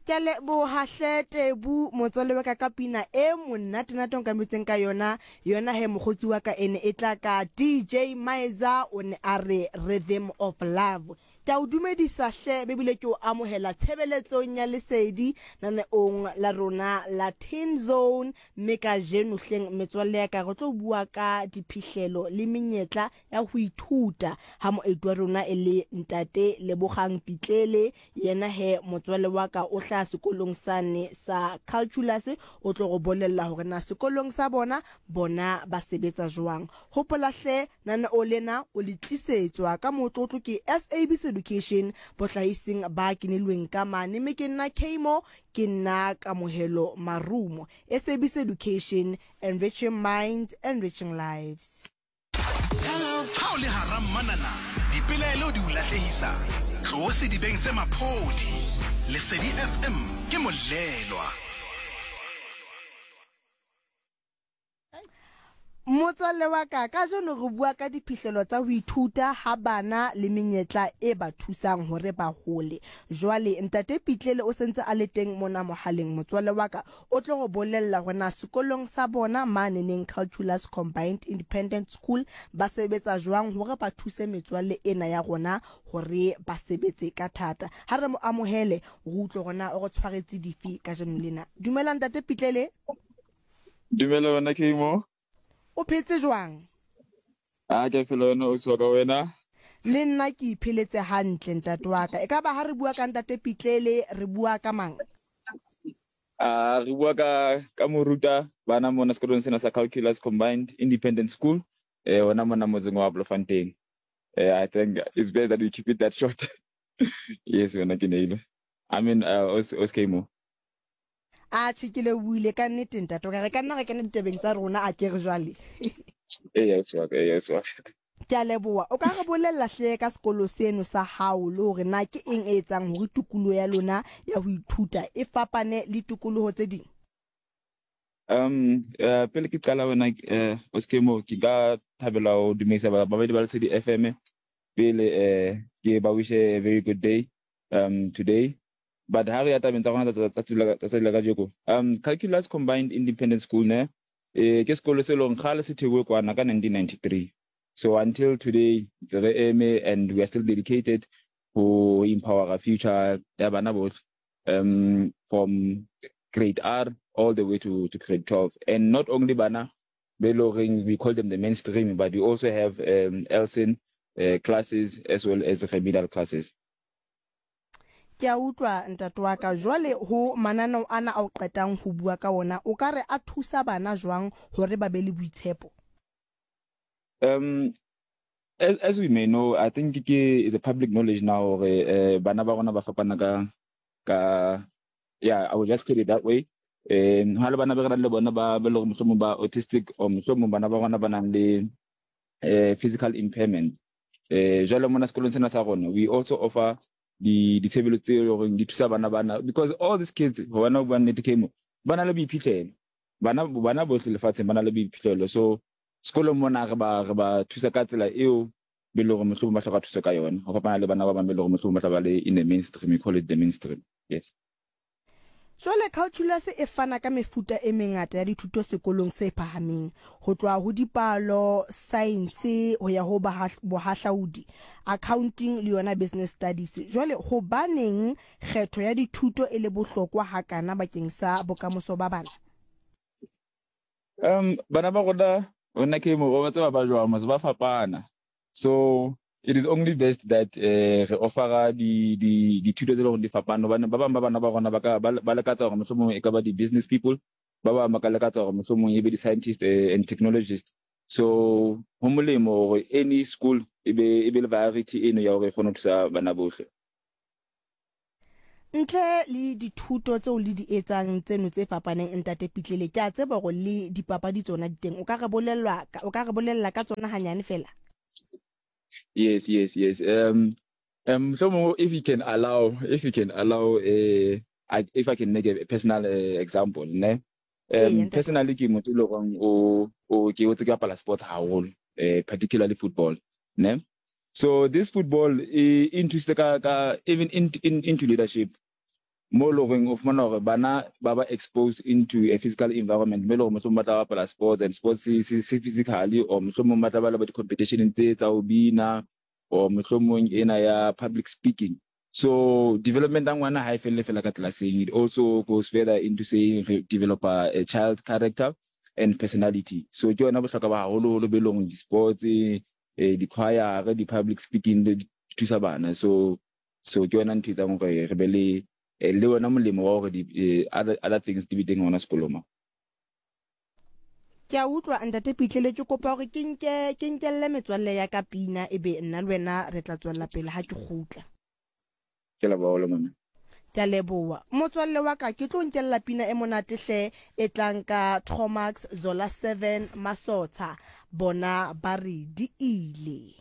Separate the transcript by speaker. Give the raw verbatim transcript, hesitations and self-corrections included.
Speaker 1: Ke a leboha hle Tebu motswalle wa ka ka pina e monate-nate o nkametseng ka yona yona he mokgotsi wa ka e ne e tla ka D J Maiza, o ne a re Rhythm of Love. Ke a o dumedisa hle, bebile ke o amohela tshebeletsong ya Lesedi naneong la rona la Teen Zone. Mme kajeno hleng metswalle ya ka, re tlo bua ka diphihlelo le menyetla ya ho ithuta, ha moeti wa rona e le ntate Lebogang Pitlele. Yena he motswalle wa ka o hlaha sekolong sane sa Calculus, o tlo go bolella hore na sekolong sa bona bona ba sebetsa jwang. Hopola hle, naneo lena o le tlisetswa ka motlotlo ke S A B C Education, bohlahising ba kenelweng ka mane, mme ke nna Kamo, ke nna Kamohelo Marumo. S A B C Education, enriching minds, enriching lives.
Speaker 2: Ha o le hara mmanana, dipelaelo di o lahlehisa, tloho sedibeng se maphodi. Lesedi F M ke molelwa.
Speaker 1: Motswalle wa ka, kajeno re bua ka diphihlelo tsa ho ithuta ha bana le menyetla e ba thusang hore ba hole. Jwale ntate Pitlele o sentse a le teng mona mohaleng, motswalle wa ka, o tlo go bolella hore na sekolong sa bona maneneng Calculus Combined Independent School ba sebetsa jwang hore ba thuse metswalle ena ya rona hore ba sebetse ka thata. Ha re mo amohele, re utlwe hore na o re tshwaretse dife kajeno lena. Dumela ntate Pitlele.
Speaker 3: Dumela wena Kamo.
Speaker 1: O phetse jwang?
Speaker 3: A ke phela, wena o ka wena?
Speaker 1: Le nna ke ipheletse hantle, ntate wa ka. E ka ba ha re bua ka ntate Pitlele, re bua ka mang?
Speaker 3: A re bua ka ka moruta bana mona sekolong sena sa Calculus Combined Independent School, eh hona mona motseng wa Bloemfontein. Eh I think it's best that we keep it that short. Yes, wena ke neile. I mean, uh, os os Kamo.
Speaker 1: A tjhe, ke lebohile ka nnete, ntate wa ka. Re ka nna re kena ditabeng tsa rona, a ke re jwale?
Speaker 3: Eya, ausi wa ka, eya, ausi wa ka.
Speaker 1: Ke a leboha. O ka re bolella hle ka sekolo seno sa hao, le hore na ke eng e etsang hore tikoloho ya lona ya ho ithuta e fapane le tikoloho tse ding?
Speaker 3: Um uh, pele ke qala wena, eh Oskemo, ke ka thabela ho dumedisa babadi ba Lesedi F M pele, eh ke ba wish a very good day um today. But ha re ya tabeng tsa rona tsa tsatsi la kajeko, um Calculus Combined Independent School ne eh ke sekolo se leng kgale se theuwe kwana ka nineteen ninety-three. So until today ntse re eme and we are still dedicated ho empower future ya bana bohle um from grade R all the way to, to grade twelve. And not only bana be loreng we call them the mainstream, but we also have um, ELSEN uh, classes as well as remedial classes.
Speaker 1: Ke a utlwa, ntate wa ka. Jwale ho mananeo ana a o qetang ho bua ka ona, o ka re a thusa bana jwang hore ba be le boitshepo?
Speaker 3: Um, as, as we may know, I think ke is a public knowledge now hore uh, bana ba rona ba fapana ka ka yeah, I will just put it that way. Um ha le bana ba re nang le bona ba ba leng mohlomong ba autistic or mohlomong bana ba rona ba nang le eh, physical impairment. Eh jwale mona sekolong sena sa rona, we also offer di ditshebeletso tse leng hore di thusa bana bana, because all these kids, hona bua nnete Kemo, ba na le boiphihlelo. Bana bana bohle lefatsheng ba na le boiphihlelo. So sekolong mona re ba re ba thusa ka tsela eo be leng hore mohlomong ba hloka thuso ka yona, ho fapana le bana ba bang be leng hore mohlomong ba tla ba le in the mainstream, we call it the mainstream, yes.
Speaker 1: Jwale Calculus e fana ka mefuta e mengata ya dithuto sekolong se phahameng, ho tloha ho dipalo, science, ho ya ho bohahlaudi, accounting le yona business studies. Jwale hobaneng kgetho ya dithuto e le bohlokwa hakana bakeng sa bokamoso ba bana?
Speaker 3: Um bana ba rona rona ke mo ba tseba ba jwang mos, ba fapana. So it is only best that eh re offera di di dithuto tse leng hore di fapana, hobane ba bang ba bana ba rona ba ka ba lakatsa hore mohlomong e ka ba di-business people, ba bang ba ka lakatsa hore mohlomong e be di-scientist and technologist. So ho molemo hore any school e be e be le variety eno ya hore e kgone ho thusa bana bohle.
Speaker 1: Ntle le dithuto tseo le di etsang tseno tse fapaneng, ntate Pitlele, ke a tseba hore le dipapadi tsona di teng. O ka re bolellwa o ka re bolella ka tsona hanyane fela?
Speaker 3: Yes, yes, yes. Um, um, mohlomong if you can allow, if you can allow, uh, I, if I can make a personal uh, example, ne? Um, personally, ke motho e leng hore o o ke hotse ke bapala sports haholo, eh, particularly football, ne? So this football e e nthusitse ka ka even in, in, into leadership. Mo e leng horeng o fumana hore bana ba ba exposed into a physical environment mo e leng hore mohlomong ba tla bapala sports and sports se se se physically or mohlomong ba tla ba le ba di-competition tse tsa ho bina or mohlomong ena ya public speaking. So development ya ngwana ha e felle fela ka classeng it also goes further into saying re developa a child character and personality. So ke yona bohlokwa ba haholoholo be leng di-sports eh, di-choir di-public speaking di thusa bana. So so ke yona ntho e etsang hore re be le eh, le yona molemo wa hore di eh, other, other things di be teng hona sekolong mo.
Speaker 1: Ke a utlwa ntate Pitlele ke kopa hore ke nke ke nkelle metswalle ya ka pina ebe nna le wena re tla tswella pele ha ke kgutla.
Speaker 3: Ke leboha haholo mama.
Speaker 1: Ke a leboha. Motswalle wa ka ke tlo nkella pina e monate hle e tlang ka Tromax Zola seven Masotsha bona ba re di ile.